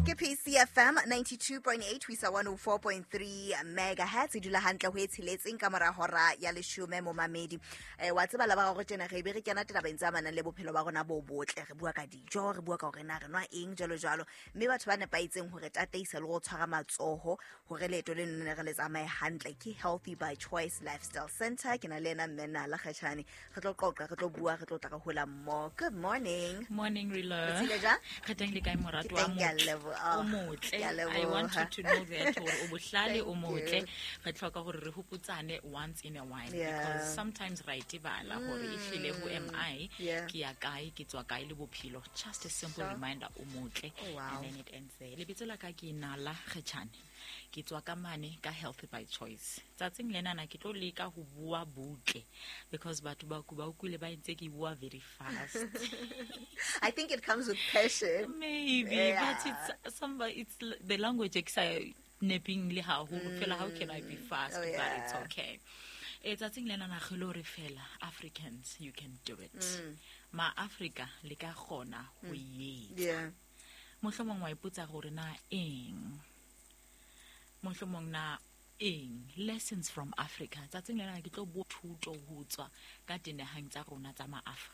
Ke PCFM 92.8 ho isa 104.3 megahertz. E dula hantle ho e tsheletseng ka mora hora ya 10, momamedi. Wa tseba la ba gago tjena re be re kena tabeng tse amanang le bophelo ba rona bo botle. Re bua ka dijo, re bua ka hore na re nwa eng, jwalo jwalo, mme batho ba nepahetseng hore tataisa le go tshwara matsoho hore leeto le nne re le tsamaye hantle ke Healthy by Choice Lifestyle Center. Ke na le ena mme Nala Kgatjhane. Re tlo qoqa, re tlo bua, re tlo tla re hola mmoho. Good morning. Morning, Rila. Re tsile jwang? Re teng, le kae, moratuwa? Ke teng, ke a leboha. O motle. Ke a I want you leboha. to know that hore o bohlale, o Thank motle. you. Re tlhoka hore re hopotsane once in a while because sometimes ra itebala hore ehlile who am I? Ke ya kae, ke tswa kae le bophelo. Just a simple reminder, o motle. Oh, wow. And then it ends there. Lebitso la ka ke Nala Kgetjhane. Ke tswa ka mane ka Healthy by Choice. Tsatsing lenana ke tlo leka ho bua butle because batho ba utlwile ba ntse ke bua very fast. I think it comes with passion. Maybe, but it's somebody, it's the language e ke sa neping le haholo fela. How can I be fast? Oh, But it's okay. Tsatsing lena na re lo re fela, Africans, you can do it. Ma Africa le ka kgona ho e etsa. Mohlomong wa ipotsa gore na eng, mohlomong na eng, lessons from Africa. Tsatsing lena ke tlo bua thuto ho tswa ka dinaheng tsa rona tsa ma Africa.